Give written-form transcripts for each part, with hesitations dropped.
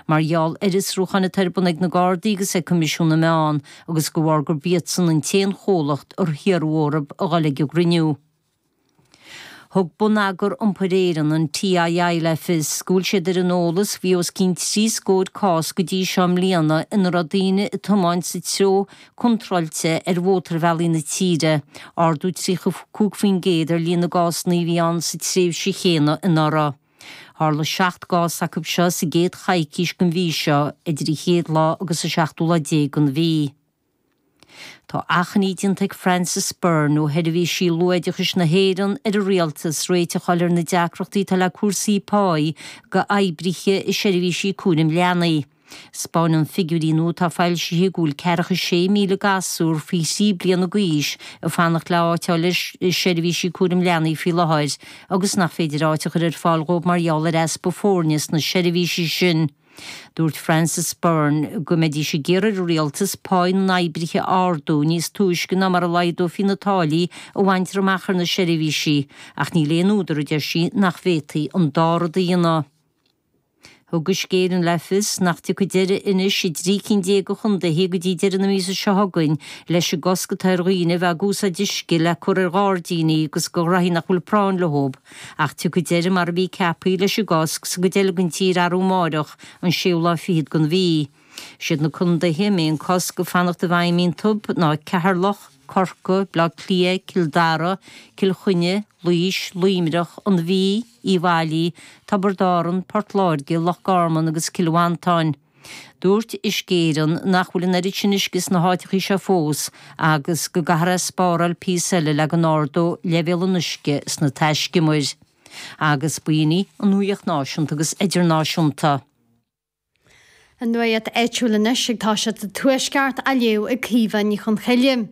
Mar gheall ar fhiosrúcháin atá ar bun ag na Gardaí agus ag Coimisiún na Meán agus de bharr gurb iadsan an t-aon chomhlacht ar hiarradh orthu a dhul ag an gcruinniú. Thug Bonneagar Iompair Éireann, an TII, le fios go bhfuil siad ar an eolas faoi os cionn 30 scór cás go dtí seo i mbliana ina raibh daoine ag tiomáint sa treo contráilte ar mhótarbhealaí na tíre, ardú 35% ar líon na gcásanna a bhí ann sa tréimhse chéanna anuraidh. Tharla 7 gcás acu seo sa gcéad choicís den mhí seo, idir an chéad lá agus an seachtú lá déag den mhí. Tá achainí déanta ag Frances Byrne ó Sheirbhísí Luathoideachais na hÉireann ar an Rialtas réiteach a fháil ar na deacrachtaí atá le cúrsaí páí do oibrithe i seirbhísí cúraim leanaí. 'Spáineann figiúirí nua atá foilsithe go bhfuil ceathracha 6,000 gasúr faoi thrí bliana d'aois ag fanacht le áit a fháil i seirbhísí cúraim leanaí faoi láthair agus nach féidir áit a chur ar fáil dhóibh mar gheall ar easpa foirne sna seirbhísí sin. Dúirt Frances Byrne go mbeidís ag iarraidh ar an Rialtas páí na n-oibrithe a ardú níos túisce ná mar a laghdófaí na táillí a bhaintear amach ar na seirbhísí ach níl aon údar, a deir sí, nach bhféadfaí an dá rud a dhéanamh. Thug Uisce Éireann le fios nach dtiocfaidh deireadh anois i dtrí cinn déag de chontaetha go dtí deireadh na míosa seo chugainn leis an gcosc atá ar dhaoine a bheith ag úsáid uisce le cur ar ghairdíní agus do ghraithí nach bhfuil práinn leo. Ach tiocfaidh deireadh mar a bhí ceaptha leis an gcosc sa gcuid eile den tír arú amáireach, an séú lá fichead den mhí. Siad na contaetha a mbeidh an cosc ag fanacht i bhfeidhm iontu ná Ceatharlach, Corcaigh, Baile Átha Cliath, Cill Dara, Cill Chainnigh, Laois, Luimneach, An Mhí, Uíbh Fhailí, Tiobraid Árann, Port Láirge, Loch Garman agus Cill Mhantáin. Dúirt Uisce Éireann nach bhfuil an oiread sin uisce sna háiteachaí seo fós agus go gcaithfear é a spáráil píosa eile le go n-ardódh leibhéal an uisce sna taiscumair. Agus b'in í an nuacht náisiúnta agus idirnáisiúnta. An nuacht áitiúil anois ag toiseacht sa Tuaisceart á léamh ag Caoimhe Ní Chonchoille.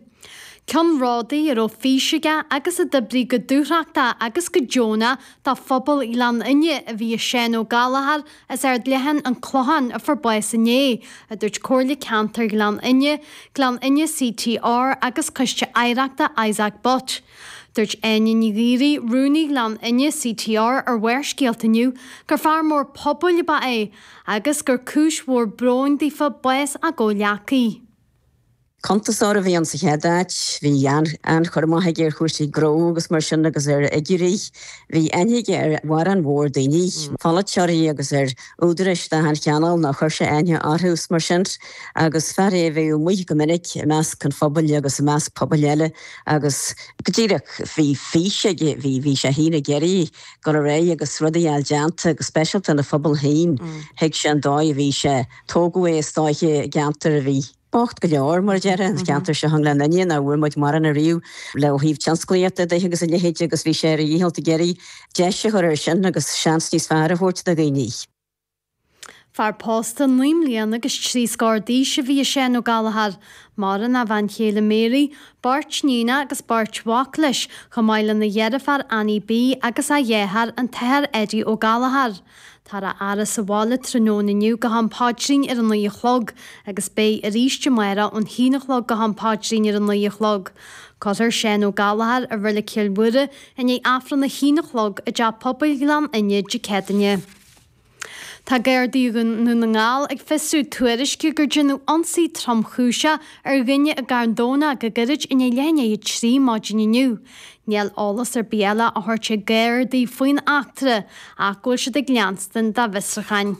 Ceannródaí a raibh fís aige agus a d'oibrigh go dúthrachtach agus go deonach do phobal Ghleann Fhinne a bhí i Seán Ó Gallchóir as Ard Leatháin, An Clochán, a fuair bás inné, a dúirt Comhairle Ceantair Ghleann Fhinne, Gleann Fhinne CTR agus Coiste Oidhreachta Isaac Butt. Dúirt Áine Ní Ghaoraí, Rúnaí Ghleann Fhinne CTR ar Bharrscéalta inniu gur fear mór pobail ab ea é agus gur cúis mhór bróin daofa bás a gcomhghleacaí. Cuntasóir a bhí ann sa chéad áit. Bhí an-chur amach aige ar chúrsaí gnó agus mar sin agus ar fhigiúirí. Bhí aithne aige ar mhórán mhór daoine, polaiteoirí agus ar údaráis d'achan chineál nó chuir sé aithne orthu is mar sin. Agus fear é a bhíodh amuigh go minic i measc an phobail agus i measc pobail eile agus go díreach bhí fís aige, bhí, bhí sé féin ag iarraidh dul ar aghaidh agus rudaí a fháil déanta go speisialta ina phobal féin. Thuig sé an dóigh a bhí sé, tógadh é is dóiche i gceantar a bhí bocht go leor, mar a déarfá, an ceantar seo i nGleann Fhinne, nach bhfuair muid mórán ariamh le ó thaobh tionsclaíochta de agus a leithéid agus bhí sé ar a dhícheall ag iarraidh deis a chur air sin agus seans níos fearr a thabhairt do dhaoine. Fear pósta 9 mbliana agus 3 scór d'aois a bhí i Seán Ó Gallchóir. Maireann a bhean chéile Mary, beirt níonacha agus beirt mhac leis, chomh maith lena dheirfiúr Annie B agus a dheartháir, an tAthair Eddie Ó Gallchóir. Táthar á fhaire sa bhaile tráthnóna inniu go ham paidrín ar a 9 a chlog agus beidh arís amárach ón haon a chlog go ham paidrín ar a 9 a chlog. Cuirfear Seán Ó Gallchóir i Reilig Chill Mhuire i ndiaidh Aifreann a haon a chlog i dTeach Pobail Ghleann Fhinne Dé Céadaoine. Tá Gardaí Dhún na nGall ag fiosrú tuairisce gur déanadh ionsaí tromchúiseach ar dhuine i gCarn Domhnach go gairid i ndiaidh leath i ndiaidh 3 maidin inniu. Níl eolas ar bith eile á thabhairt ag Gardaí faoin eachtra ach go bhfuil siad ag leanstan dá bhfiosrúcháin.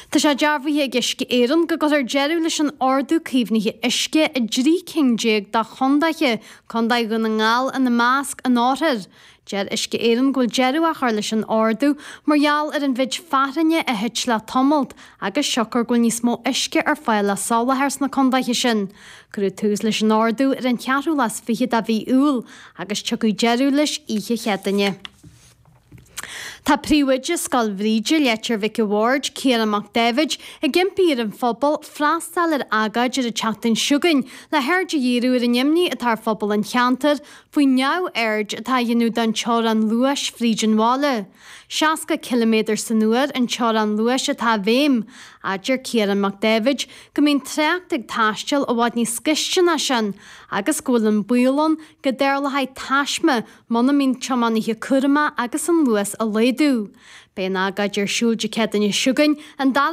Tá sé dearbhaithe ag Uisce Éireann go gcuirfear deireadh leis an ordú caomhnaithe uisce i dtrí cinn déag de chondaetha, Condae Dhún na nGall ina measc, an Oirthir. Deir Uisce Éireann go bhfuil deireadh á chur leis an ordú mar gheall ar an mhéid fearthainne a thit le tamalt agus siocair go bhfuil níos mó uisce ar fáil le soláthar sna condaetha sin. Cuireadh tús leis an ordú ar an cheathrú lá is fiche de mhí Iúil agus tiocfaidh deireadh leis oíche Chéadaoine. Tá príomhoide Scoil Bhríde, Leitir Mhic a' Bhaird, Ciarán Mac Daibhéid, ag impí ar an phobal freastal ar agóid ar an tseachtain seo chugainn le haird a dhíriú ar an imní atá ar phobal an cheantair faoin neamhaird atá á dhéanamh don teorainn luais fríd an bhaile. 60 ciliméadar san uair an teorainn luais atá i bhfeidhm. Adeir Ciarán Mac Daibhéid go mbíonn trácht ag taisteal i bhfad níos gaiste ná sin agus go bhfuil an baol ann go dtarlóidh taisme muna mbíonn tiománaithe cúramach agus an luas á laghdú. mhéadú. Beidh an agóid ar siúl Dé Céadaoine seo chugainn, an 2ú.